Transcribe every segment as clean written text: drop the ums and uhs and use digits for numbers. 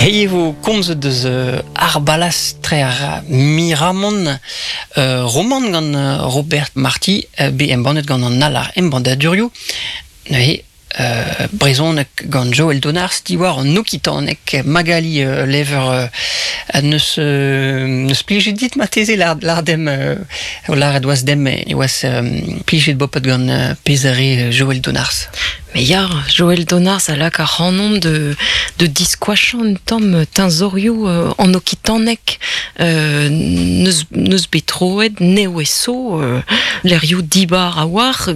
Hei e vo komzet deus ar balastrer Miramont, roman gant Robert Marty, bet embannet gant an Alar Embannadurioù. Neuze, brezhoneg gant Joël Donars diwar an okitaneg. Magali Lever neus neus plijet dit marteze lar dem lâret oas dem e oas plijet bopet gant pezh a re Joël Donars. Mais ya, Joël Donars a lak ac'hanomp de, de diskoachañ un tamm teñzorioù an okitaneg neus, neus bet troet nevez-so lec'hioù dibar a-walc'h,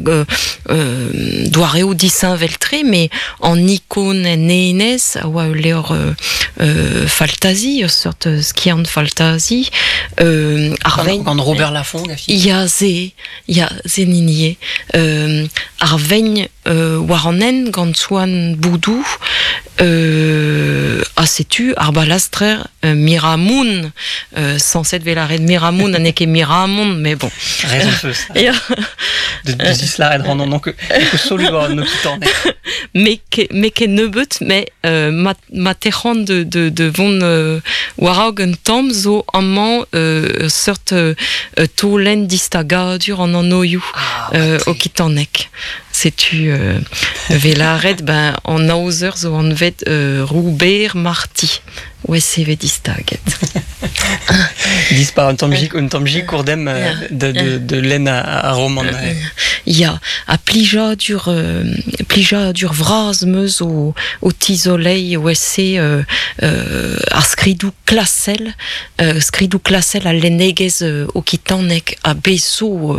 doareoù disheñvel-tre, mais an ikon en enez a oa ul levr faltazi, ur seurt skiant faltazi. Ar vein... Gant Robert Lafont, Ya, se, ya, se n'hini eo. Ar vein war an hent gant Swan Boudou ha setu ar balastrer Miramoun sañset 'vez lâret Miramoun ha n'eo ket Miramont mais bon. Raison feus. Ya. De dislaret ran an solu war an okitaneg. Me ket me ket nebeut mais ma ma tec'han de de de vont war-raok un tamm zo amañ ur seurt taolenn distagadur an anvioù ah, okitanek. Setu vez lâret ben an aozer zo anvet Robert Marty. Ouais, se vez distaget. Dispar un tamm un tamm jikour dem de, de, de lenn ar roman. Ya, ha plijadur plijadur vras 'meus o, o tizoleiñ ouais-se ar skridoù klasel skridoù klasel al lennegezh okitanek ha bez zo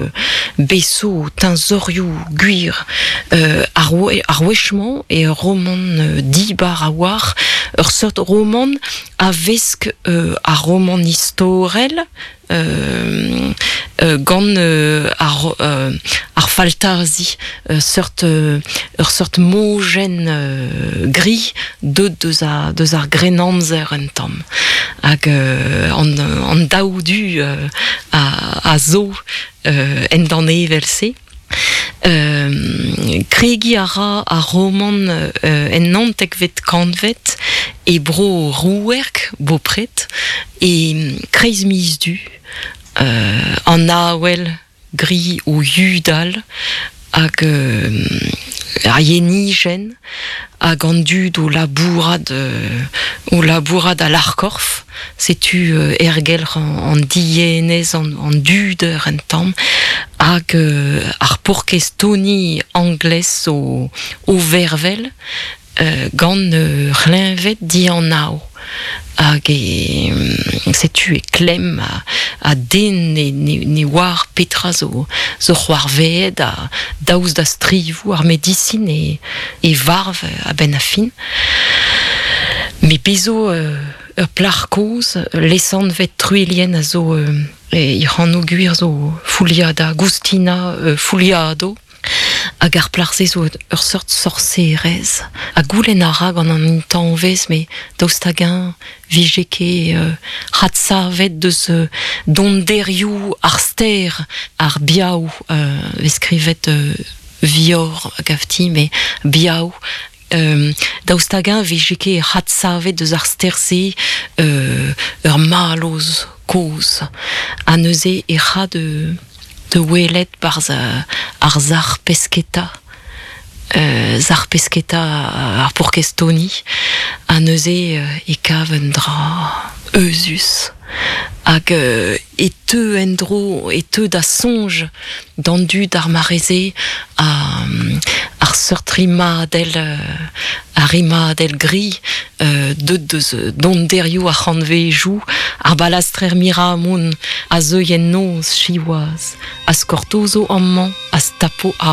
bez zo teñzorioù gwir ar ar wech-mañ eo ur romant dibar a-walc'h ur seurt romant a vesk ar romant istorel gant ar, ar faltazi, seurt, ur seurt mojenn gris deut deus, a, deus ar Grennamzer un tamm. Hag an, an daou du a, a zo en danevell-se. Kregiñ a ra ar romant en naontekvet kantved e bro Rouerg, bopred, e kreiz miz Du, an awel gris o yudal hag ar yenijenn hag an dud o labourat o labourat a-larkorf. Setu ergelc'h an dienez, an duder un tamm, hag ar paourkaezh Tony Anglès zo o vervel gant ur c'hleñved dianav. Hag e setu e klemm ha den ne, ne, ne oar petra zo, zo c'hoarvezet ha daoust da strivoù ar medisin e, e varv a-benn ar fin. Me bezo ur plac'h kozh lesanvet Truilhenn a zo he anv gwir zo Fouliada, Goustina Fouliado. Hag ar plac'h-se zo ur seurt sorserez. Ha goulenn a ra gant an intañvez, mais daoust hag-eñ vije ket adsavet deus donderioù ar stêr, ar biaou, vez skrivet vior a gav ti, mais biaou daoust hag-eñ vije ket adsavet deus ar stêr-se ur mallozh kozh ha neuze e ra de de welet 'barzh ar sac'h pesketa sac'h pesketa ar paourkaezh Tony ha neuze e kav un dra euzhus hag e teu en-dro e teu da soñj d'an dud ar mare-se ar seurt rimadell ar rimadell gris deut deus donderioù ar c'hantvejoù ar balastrer Miramont a zeuy en noz siwazh a skortozo amañ a stapo ar.